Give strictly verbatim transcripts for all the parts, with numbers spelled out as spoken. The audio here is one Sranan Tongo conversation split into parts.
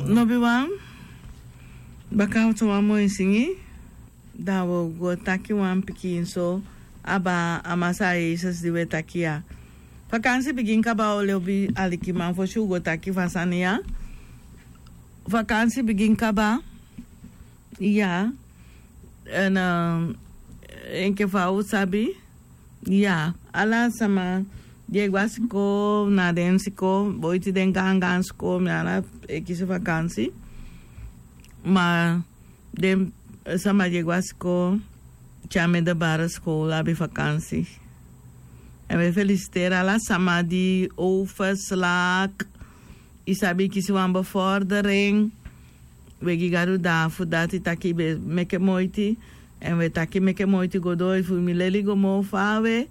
Lobiwan, baka so wan moi singi, dan wi o go taki wan pikin so aba a Masaa Jesus di wi e taki ya. Vakansi bigin kaba, o lobi alikiman, fosi u go taki fu a sani ya. Vakansi bigin kaba. Ya. Èn, eh, enke fa u sabi, ya, ala sama di e go a sikoo, na den sikoo, boiti den gaangaan sikoo, mi ala e kisi vakansi. Ma den, eh, sama di e go a sikoo, te a middelbare school abi vakansi. Èn wi e felisiteri ala sama di overslaag, i sabi, kisi wan bevordering. Wi e gi Gadu danki fu dati, taki i be meke moiti. Èn wi e taki meke moiti go doo, efu mi leli go moo fawe,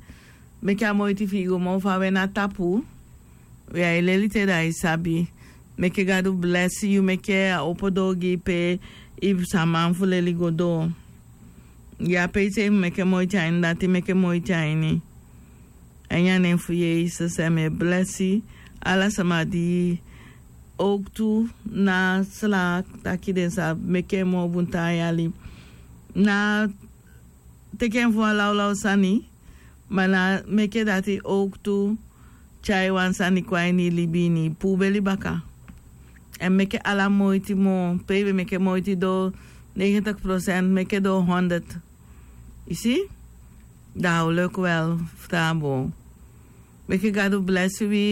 meke a moiti fi i go moo fawe na tapu. Wi ai leli te, da i sabi. Meke Gadu blesi yu, meke a opo doo gi i pe i sa man fu leli go doo. Ya, pe i sei meke moiti a ini, dati meke moiti a ini. A ini a nen fu Jesus, èn mi e blesi ala sama di owktu na slaag, taki den sa meke en moo bun taa yali. Na teki en fu wan lawlaw sani, ma na meke dati owktu tyai wan sani kon a ini i libi, ini i puu beli baka. Èn meke ala moiti moo, pe i be meke moiti doo negentig procent, meke doo honderd. I si? Da a o leki wel fu tan bun. Meke Gadu blesi wi.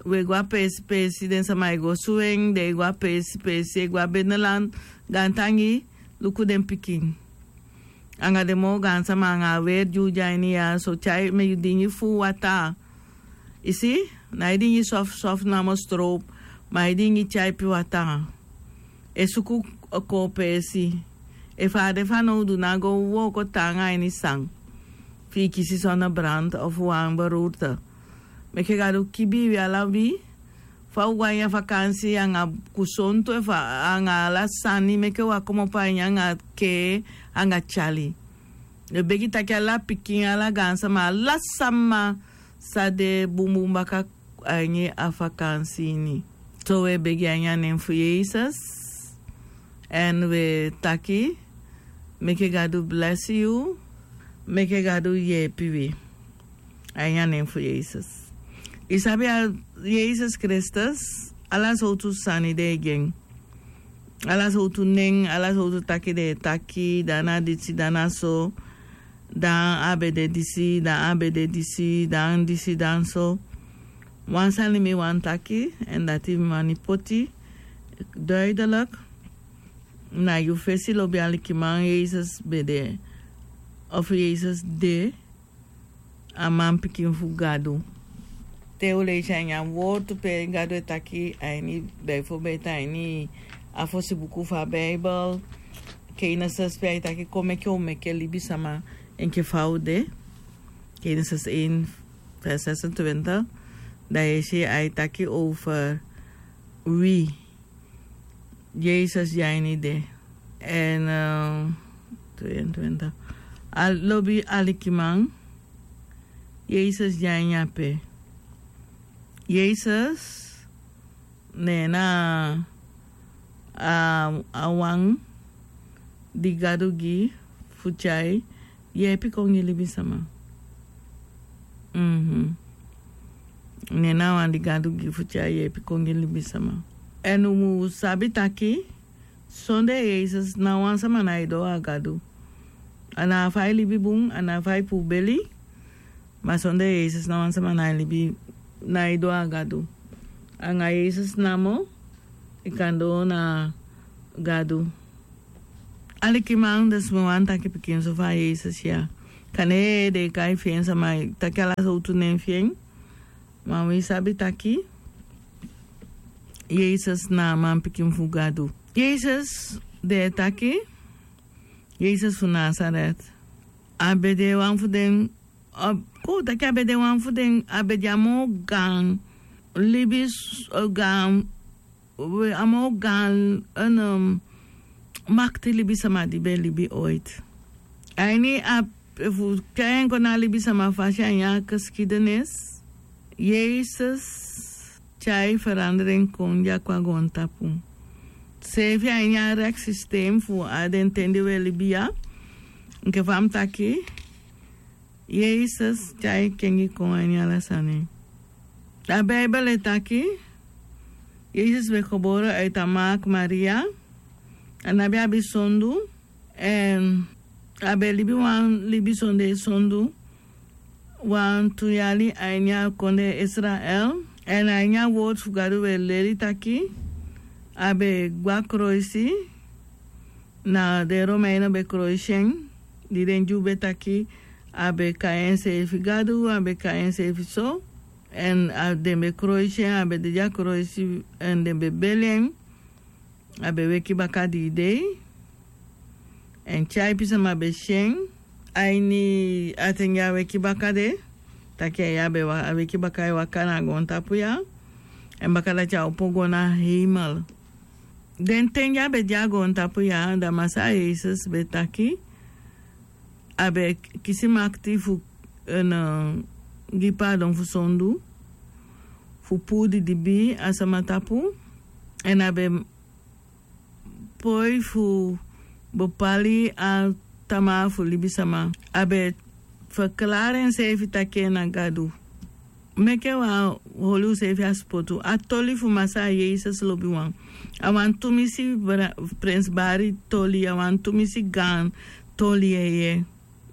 Wi e go a peesi peesi, den sama e go Swing, den e go a peesi peesi, e go a binnenland, gaantangi, luku den pikin. Anga den moo gaan sama, anga a weri di u de a ini ya, so tyai, mi e dingi fuu wataa. I si? Na i dingi soft soft namo, stroop, ma i dingi tyaipi wataa. E suku kon peesi. Efu a de fanowdu, ná go wooko taanga a ini san, fi i kisi zonnebrand of wan beroerte. Meke Gadu kibi wi ala wi, fa u go a ini a vakansi anga kusontu, efu anga ala sani, meke u komopo a ini anga kee, anga tyali. Wi e begi taki ala pikin, ala gaan sama, ala sama sa de bunbun baka a ini a vakansi ini. So wi e begi a ini a nen fu Jesus. Èn wi e taki, meke Gadu blesi yu, meke Gadu yeepi wi. A ini a nen fu Jesus. I sabi a Jesus Kristus, ala sowtu sani den e gi en. Ala sowtu nen, ala sowtu taki den e taki, dan na disi, dan na so, dan a be de disi, dan a be de disi, dan disi, dan so. Wan sani mi wani taki, èn dati mi wani poti duidelijk. Na yu fesi, lobi alikiman, Jesus be de, of Jesus de a manpikin fu Gadu. Te u leisi a ini a wortu pe Gadu e taki a ini, bijvoorbeeld a ini a fosi buku fu a Bijbel, Genesis, pe ai taki kon meke u meke libisama enke fa u de. Genesis één vers zesentwintig. Dan yu e si ai taki over wi. Jesus de a ini de. Èn, eh, tweeëntwintig. A lobi alikiman, Jesus de a ini ape. Jesus, ne na a, a wan di Gadu gi fu tyai yeepi kon gi libisama. Mhm. Ne na a wan di Gadu gi fu tyai yeepi kon gi libisama. Èn u mu sabi taki, sondee Jesus, ná wan sama ná e doo a Gadu. A ná fa i libi bun, a ná fa i puu beli, ma sondee Jesus, ná wan sama ná e libi, ná e doo a Gadu. Anga Jesus namo i kan doo na Gadu. Alikiman, dus mi wani taki pikinso fu a Jesus ya. Kande den e kai fi en, sama e taki ala sowtu nen fi en. Ma wi sabi taki Jesus na a manpikin fu Gadu. Jesus, den e taki, Jesus fu Nazaret. A be de wan fu den, a, kon u taki a be de wan fu den, a be de a moo gaan libi, eh, gaan, we, a moo gaan, eh, makti libisama di be libi ooit. A ini a, efu u tyai en kon na libisama fasi a ini a geschiedenis, Jesus tyai verandering kon dya kon a goontapu. Seefi a ini a rek sistem fu a den ten di wi e libi ya. Enke fa mi taki, Yesus tyai kengi kon a ini ala sani. A Bijbel e taki, Yesus be gebore uit a maak Maria. A no be abi sondu. Èn a be libi wan libi sondee sondu wantu yali a ini a kondee Israel. Èn a ini a wortu fu Gadu wi e leli taki a be gwe a kroisi. Na den Romeini be kroisi en. Di den Dyu be taki a be kai enseefi Gadu, a be kai enseefi so. Èn a den be kroisi en, a be de dya kroisi, èn den be beli en. A be weki baka dii dei. Èn tyaipi sama be si en a ini a ten di a weki baka de. Taki a ya be wa- a weki baka e waka na a goontapu ya. Èn baka dati a opo go na heimel. Den ten di a be de a goontapu ya, da Masaa Yesus be taki a be kisi makiti fu gi paadon fu sondu, fu puu didibii a sama tapu. Èn a be poi fu bepali a tamaa fu libisama. A be ferklari enseefi taki en na Gadu. Meke wi á holi useefi a sipotu. A toli fu Masaa Yesus lobiwan a wan tumisi, prensibari toli, a wan tumisi gaan toli yeye.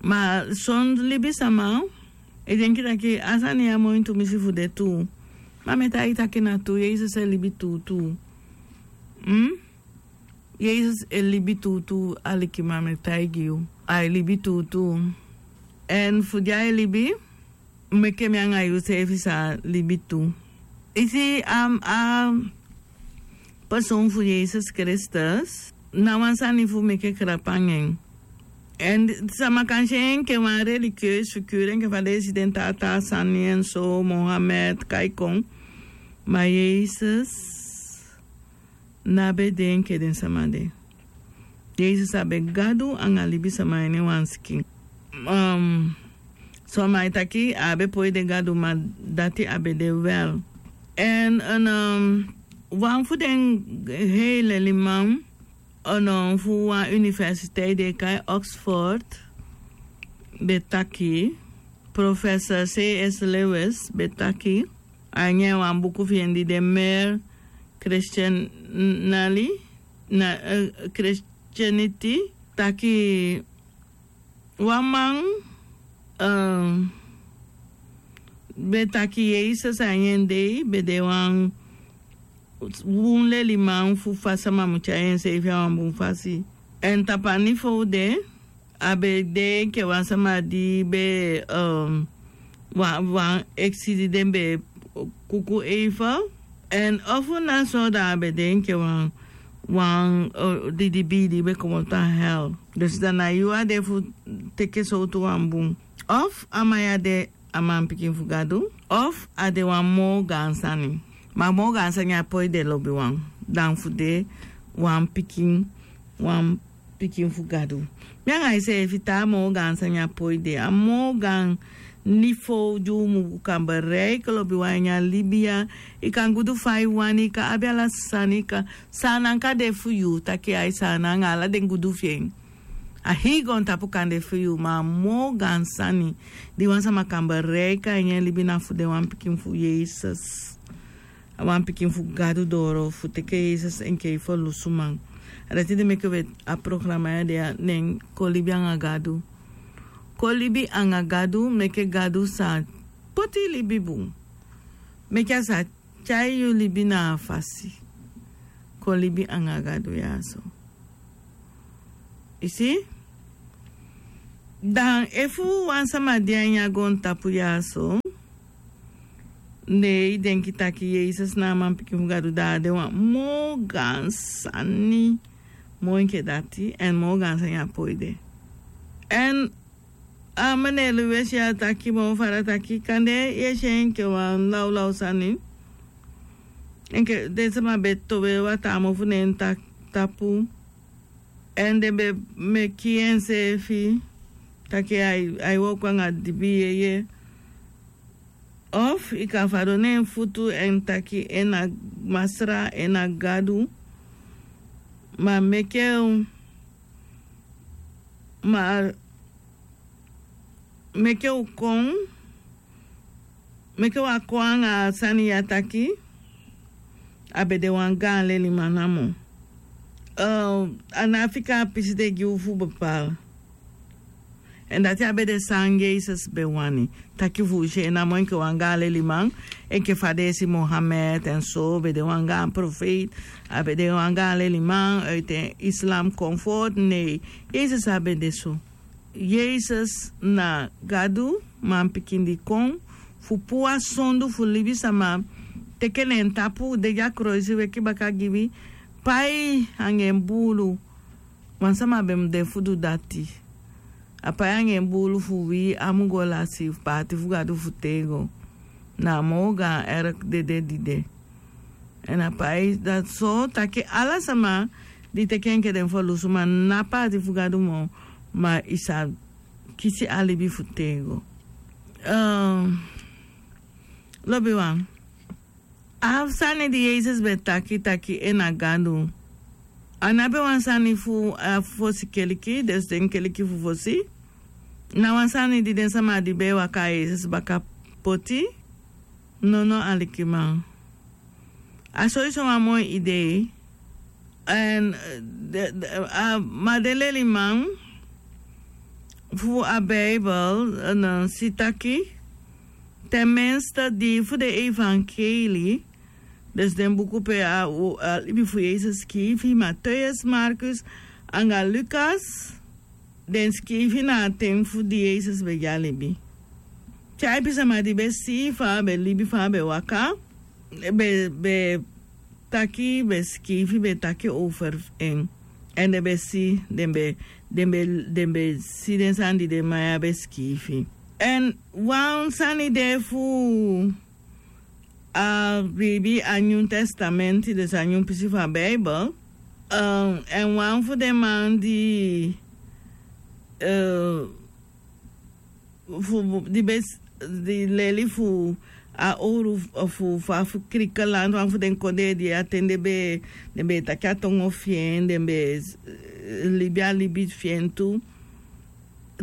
Ma son libisama e denki taki a sani ya moi tumisi fu de tuu. Ma mi e taigi taki na tuu, Yesus e libi tuutuu. Yesus e libi tuutuu. Alikiman, mi e taigi yu, ai libi tuutuu. Èn fu di ai libi, meke mi anga yuseefi sa libi tu. I si, a person fu Yesus Kristus ná wan sani fu meke krapu anga en. Èn sama kan si en enke wan religieus figuru, enke fa den e si den taa taa sani en so, Mohammed, kaikon. Ma Yesus ná be de enke den sama de. Yesus a be Gadu anga libisama a ini wan sikin. Son man e taki a á be poi de Gadu, ma dati a be de wel. Èn wan fu den hei leliman fu wan universiteit di e kai Oxford be taki, Professor C S Lewis be taki, a ini wan buku fi en di de Mere Christianity, taki wan man be taki Yesus a ini en dei be de wan bun leliman fu fa sama mu tyai enseefi a wan bun fasi. Èn tapu a niveau de, a be de enke wan sama di be wan, wan eksi di den be kuku even. Èn ofu na so, da a be de enke wan, wan didibii di be komoto a hel. Dus da na yu a de fu teke sowtu wan bun. Of a man ya de a manpikin fu Gadu, of a de wan moo gaan sani. Ma moo gaan sani á poi de lobiwan dan fu de wan pikin, wan pikin fu Gadu. Mi anga iseefi, taa moo gaan sani á poi de. A moo gaan niveau di u mu kan bereiki lobiwan a ini a libi ya. I kan gudu fa i wani, i kan abi ala sani, i kan, Saanan kan de fu yu, taki ai Saanan anga ala den gudu fi en. A hii goontapu kan de fu yu, ma a moo gaan sani di wan sama kan bereiki a ini en libi na fu de wan pikin fu Yesus. A wan pikin fu Gadu doro fu teke Yesus enke i ferlusuman. A dati di meke wi e, a programa ya de a nen Kon libi anga Gadu. Kon libi anga Gadu, meke Gadu sa poti i libi bun. Meke a sa tyai yu libi na a fasi. Kon libi anga Gadu ya so. I si? Dan efu wan sama de a ini a goontapu ya so, ne i denki taki Yesus na a manpikin fu Gadu, da a de wan moo gaan sani moo enke dati, èn moo gaan sani á poi de. Èn a manelu we si a taki moo fara taki, kande yu e si en enke wan lawlaw sani. Enke den sama be towe wataa mofu ne en ta- tapu. Èn den be meki enseefi taki ai, ai wooko anga dibi yeye. Of i kan fadon na en futu èn taki en na Masra, en na Gadu. Ma meke u ma meke u kon meke u a kon anga a sani ya taki a be de wan gaan leliman namo. A na a fika a pisi de gi u fu bepal. Èn dati a be de san yesus be wani taki fu u si en namo enke wan gaan leliman. Enke fa den e si mohammed èn so be de wan gaan profeiti. A be de wan gaan leliman uiti en islam konfort nei. Yesus a be de so. Yesus na gadu manpikin di kon fu puu a sondu fu libisama teke na en tapu de gi a kroisi weki baka gi wi. Pai anga en buulu. Wan sama be mu de fu du dati. A pai anga en buulu fu wi a mu go lasi paati fu gadu fu tego. Na a moo gaan erk dede di de. Èn a pai dati so taki ala sama di teke enke den ferlusu ma na paati fu gadu moo. Ma i sa kisi a libi fu tego. Lobiwan, a sani di yesus be taki taki en na gadu. A no abi wan sani fu a fosi keliki den siten keliki fu fosi. Na wan sani di den sama di be e waka a yesus baka poti. Nono alikiman. A soiso wan moi idei. Èn ma den leliman fu a bibel si taki ten menste di fu den evankeli, dus den buku pe a libi fu yesus skiifi mateus markus anga lukas. Den skiifi na a ten fu di yesus be gi a libi. Tyaipi sama di be si fa a be libi fa a be waka be be taki be skiifi be taki over en. Èn den be si den be den be den be si den sani di den man ya be skiifi. Èn wan sani de fu a biibi a nyun testamenti desi a nyun pisi fu a bibel. Èn wan fu den man di fu di be di leli fu a owru fu fa fu krikelanti wan fu den kondee di a ten den be den be e taki a tongo fi en den be e libi a libi fi en tu.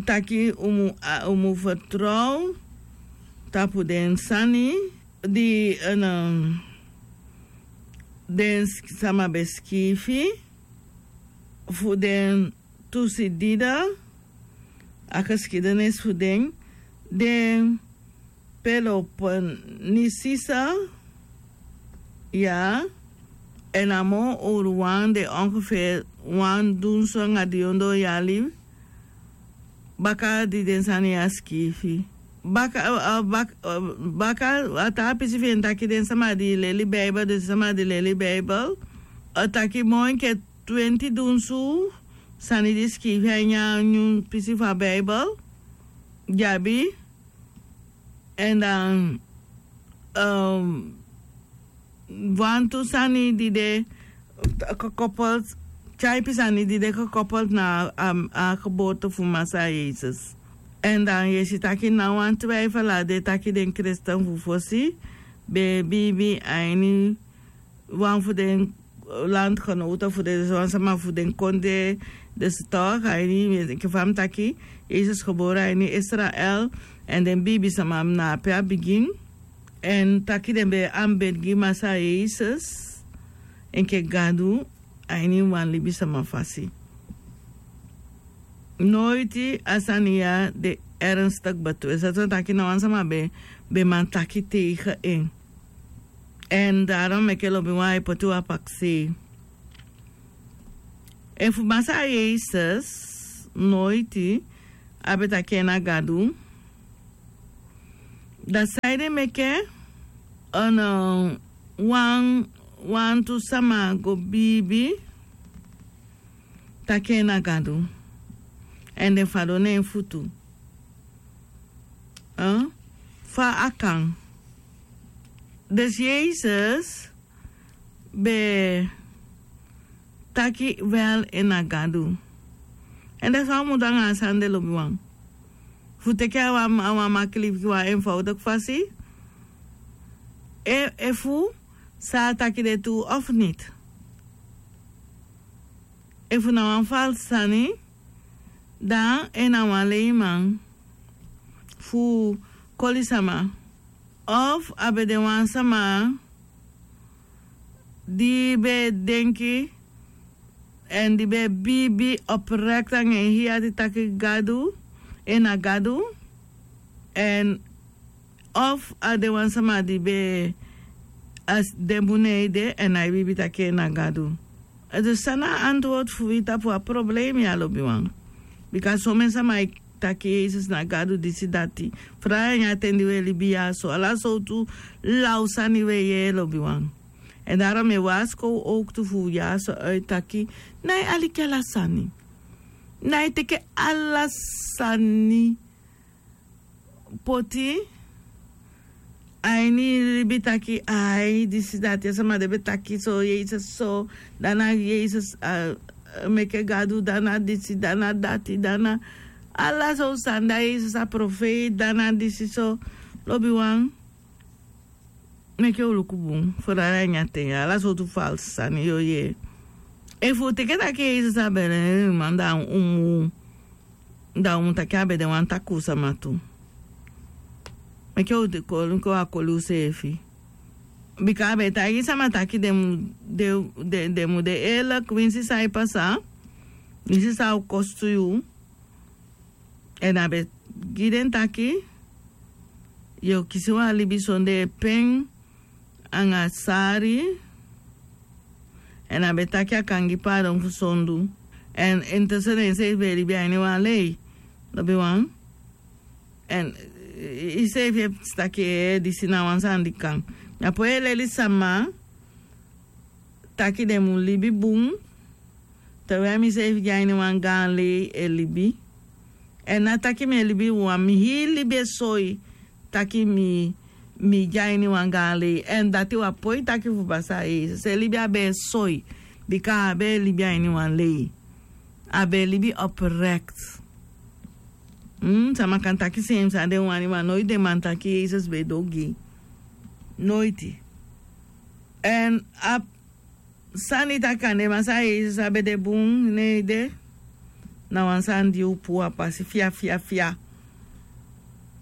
Taki un mu fertrow tapu den sani di den sama be skiifi fu den tusidida a geskidenis fu den den peloponisisa. Ya. Èn a moo owru wan de ongefer wan dunsu anga di ondoo yali baka di den sani ya skiifi. Baka a taa pisi fi en taki den sama di leli bibel den sama di leli bibel a taki moo enke twenti dunsu sani di skiifi a ini a nyun pisi fu a bibel. Di abi èn dan wantu sani di de gekoppeld tyaipi sani di de gekoppeld na a geboorte fu massa yesus. Èn dan yu e si taki na wan twijfel a de taki den kristen fu fosi be biibi a ini wan fu den landgenoten fu den dus wan sama fu den kondee dus tok a ini enke fa mi taki yesus gebore a ini israel. Èn den biibi sama na ape a bigin èn taki den be e anbedi gi massa yesus enke gadu a ini wan libisama fasi. Noiti a sani ya de ernstik betwist dati wan taki na wan sama be be man taki tegen en. Èn daron meke lobi wan e poti wan pakisei efu massa yesus noiti a be taki en na gadu. Da saide meke wan wantu sama go biibi taki en na gadu èn den fadon na en futu. Fa a kan dus yesus be taki wel en na gadu. Èn dati fa a mu du anga a sani de lobiwan fu teke a wan makiliki wan enfowdiki fasi efu san a taki de tu of niti. efu na wan falsi sani, dan en na wan leiman fu koli sama. Of a be de wan sama di be e denki èn di be e biibi oprekt anga en hii ati taki Gadu, en na Gadu. Èn of a de wan sama di be e, a si den bun ede èn a e biibi taki en na Gadu. Èn dus san na a antwortu fu wi tapu a problema ya, lobiwan? Bika somen sama e taki Yesus na Gadu, disi, dati. Fraa, na a ten di wi e libi ya so, ala sowtu law sani wi e yee, lobiwan. Èn daarom mi e waasikow owktu fu ya so, e taki, nái aliki ala sani. Nái teke ala sani poti a ini libi taki, ai, disi, dati, a sama de be taki so, Yesus so, dan na Yesus, a, meke Gadu, dan na disi, dan na dati, dan na ala so sani, dan Yesus a profeiti, dan na disi so, lobiwan. Meke un luku bun, fu dati na ini a ten ya, ala sowtu falsi sani yu o yee. Efu un teke taki Yesus a be de, man, dan un mu, dan un mu taki a be de wan takuu sama tu. Meke un de koli, meke un á koli useefi. Bika a be taigi sama taki den mu de, den, den mu de eerlijk, winsi san e pasa, winsi san a o kostu yu. Èn a be gi den taki yu o kisi wan libi sondee pen anga sari. Èn a be taki a kan gi paadon fu sondu. Èn intussen enseefi be e libi a ini wan lei, lobiwan. Èn iseefi e si taki, ee, disi na wan sani di kan. Mi á poi e leli sama taki den mu libi bun, terwijl miseefi de a ini wan gaan lei e libi. Èn ná taki mi e libi wan, mi hii libi e soi taki mi, mi de a ini wan gaan lei. Èn dati wi á poi taki fu pasa a Yesus. En libi a be e soi, bika a á be e libi a ini wan lei. A be e libi oprekt. Mm, sama kan taki seefi san den wani, ma noiti den man taki Yesus be e du ogii. Noiti. Èn a sani taki a nen, Masaa Yesus á be de bun, ná ede. Na wan sani di u puu a pasi fia, fia, fia.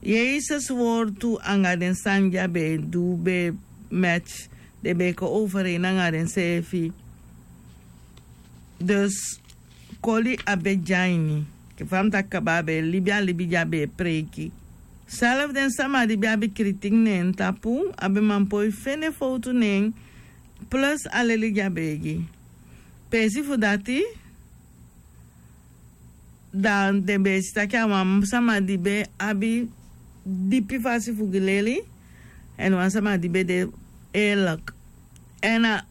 Yesus wortu anga den sani di a be e du be e match, den be e kon overeen anga denseefi. Dus koli á be de a ini. Enke fa mi taki kaba, a be e libi a libi di a be e preiki. Self den sama di be abi kritiek na en tapu, a be man poi fende fowtu na en, plus a leli di a be e gi. Peesi fu dati, dan den be e si taki a wan sama di be abi dipi fasi fu gi leli, èn wan sama di be de eerlijk. Èn a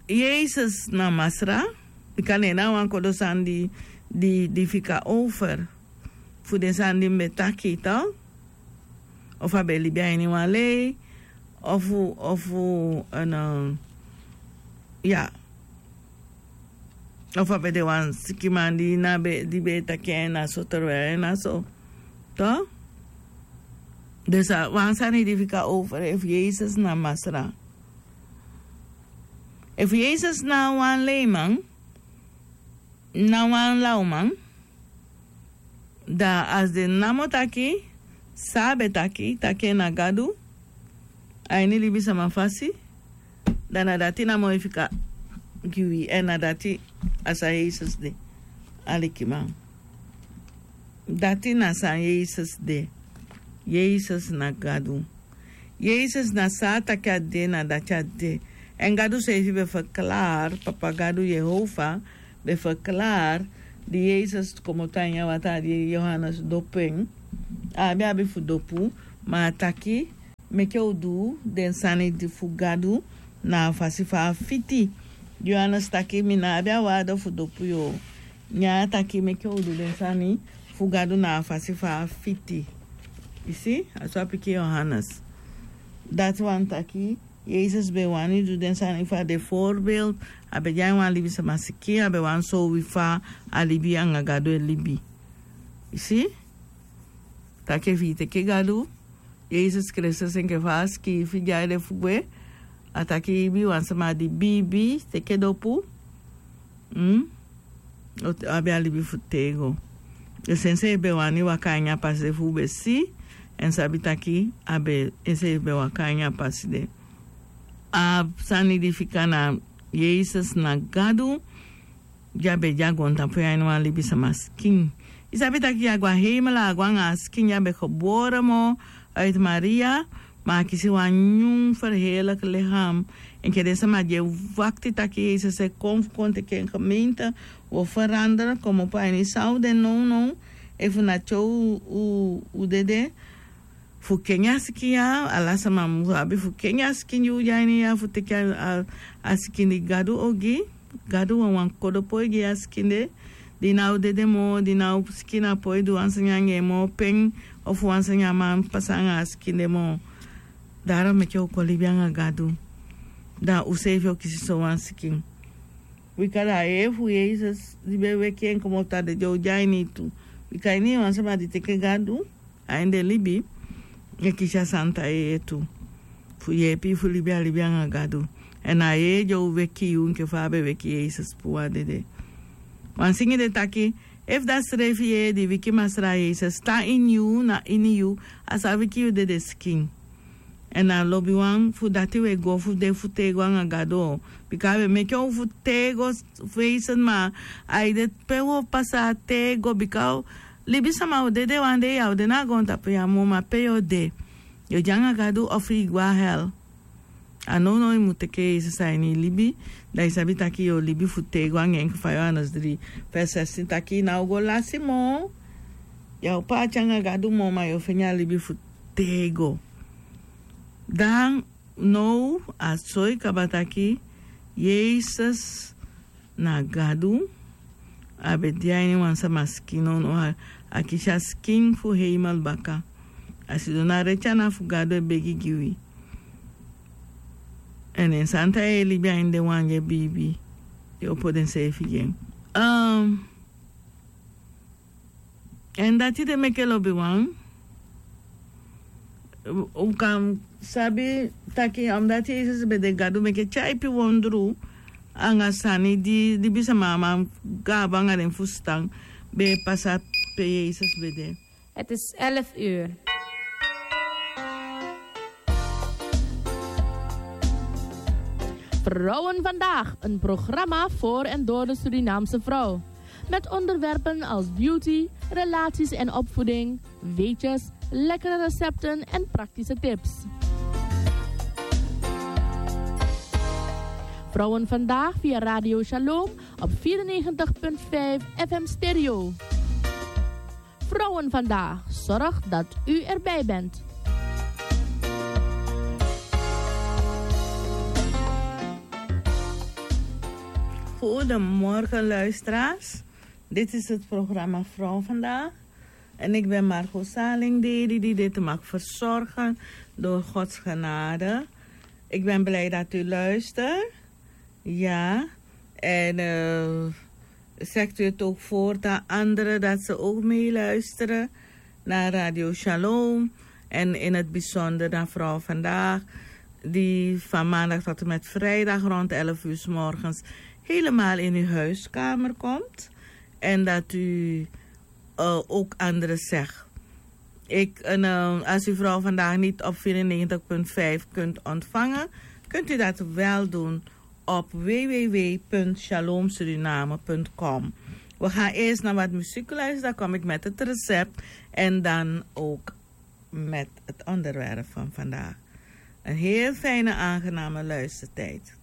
Yesus na Masra, bika na en na wan kodo sani di, di, di fika over fu den sani di mi be taki, toch? Ofu a be libi a ini wan lei, ofu, ofu, en, eh, ya. Ofu a be de wan sikiman di na be, di be e taki en na so, terwijl en na so. Toch? Dus a wan sani di fika over efu Yesus na Masra. Efu Yesus na wan leiman, na wan lawman, dan a si den namo taki san a be taki, taki en na Gadu a ini libisama fasi, dan na dati namo e fika gi wi, èn na dati a san Yesus de, alikiman. Dati na san Yesus de. Yesus na Gadu. Yesus na san a taki a de, na dati a de. Èn Gadu seefi be verklaar, Papa Gadu, Yehova, be verklaar, di Yesus komoto a ini a wataa, di Yohanes dopu en, a á be abi fu dopu, ma a taki, meke u du den sani di fu Gadu na a fasi fa a fiti. Yohanes taki, mi ná abi a waarde fu dopu yu. Ne a taki meke u du den sani fu Gadu na a fasi fa a fiti. I si, a so a piki Yohanes. Dati wani taki, Yesus be wani du den sani fu a de voorbeeld, a be de a ini wan libisama sikin, a be wani soi wi fa a libi anga Gadu e libi. I si? Taki efu i teke Gadu, Yesus Kristus enke fa a sikiifi, di a de fu gwe, a taki i bi wan sama di biibi, teke dopu. Mm? Abi a libi fu tego. Esi enseefi ben wani waka a ini a pasi de fu un ben si, èn sabi taki a ben enseefi ben waka a ini a pasi de. A sani di fika na Yesus na Gadu, di a ben de a goontapu ya ini wan libisama sikin. I sabi taki a go a heimel, a go anga a sikin di a ben gebore moo uit Maria, ma a kisi wan nyun ferheerlijk lichaam. Enke den sama di e wakti taki Yesus e kon fu kon teki en gemeente, wi o veranderen, komopo a ini san un de nownow, efu na te un, un dede, fu kenki a sikin ya, ala sama mu abi fu kenki a sikin di un de a ini ya, fu teki a, a, a sikin di Gadu o gi. Gadu wawan kodo poi gi a sikin de, di ná o dede moo, di ná o sikin, a poi du wan sani anga en moo, pen, ofu wan sani á man pasa anga a sikin de moo. Daarom meke un kon libi anga Gadu. Da unseefi o kisi sowan sikin. Bika da a yeye fu Yesus di ben weki en komoto a dede o de a ini yu tu. Bika a ini yu wan sama di teke Gadu a ini den libi, e kisi a santa yeye tu, fu yeepi yu fu libi a libi anga Gadu. Èn a yeye di o weki yu enke fa a ben weki Yesus puu a dede. Wan singi de taki, efu da srefi yeye di wiki Masra Yesus tan ini yu, na ini yu, a sa wiki yu dede sikin. Èn a lobiwan, fu dati wi e go fu de fu tego anga Gadu. Bika a ben meke un fu tego, feesten, ma a ede pe un o pasa tego, bika libisama o dede wan dei, a o de na a goontapu ya moo, ma pe yu o de? Yu o de anga Gadu ofu yu go a hel. A nownow yu mu teke Yesus a ini yu libi, da yu sabi taki yu o libi fu tego anga en. Enke fa Yohanes dri vers zestien taki, yu ná o go lasi moo, yu á o paati anga Gadu moo, ma yu o feni a libi fu tego. Dan now a soi kaba taki Yesus na Gadu, a ben de a ini wan sama sikin. Nownow a, a kisi a sikin fu heimel baka. A sidon na reti ana fu Gadu e begi gi wi. Èn en santa yeye libi a ini den wan di e biibi, di e opo denseefi gi en. Ehm, Èn dati de meke lobiwan, un kan sabi taki, omdati Yesus ben de Gadu, meke tyaipi wondru anga sani di, di libisama á man gabu anga den fusutan, ben e pasa pe Yesus ben de. Het is elf uur. Vrouwen Vandaag, een programma voor en door de Surinaamse vrouw. Met onderwerpen als beauty, relaties en opvoeding, weetjes, lekkere recepten en praktische tips. Vrouwen Vandaag via Radio Shalom op vierennegentig punt vijf F M Stereo. Vrouwen Vandaag zorgt dat u erbij bent. Goedemorgen, luisteraars. Dit is het programma Vrouw Vandaag. En ik ben Margot Saling, die, die, die dit mag verzorgen door Gods genade. Ik ben blij dat u luistert. Ja, en, eh, zegt u het ook voort aan anderen dat ze ook meeluisteren naar Radio Shalom. En in het bijzonder naar Vrouw Vandaag, die van maandag tot en met vrijdag rond elf uur 's morgens helemaal in uw huiskamer komt. En dat u, eh, ook anderen zegt. Ik, en, eh, als u Vrouw Vandaag niet op vierennegentig punt vijf kunt ontvangen, kunt u dat wel doen op w w w punt shalomsuriname punt com. We gaan eerst naar wat muziek luisteren, dan kom ik met het recept en dan ook met het onderwerp van vandaag. Een heel fijne, aangename luistertijd.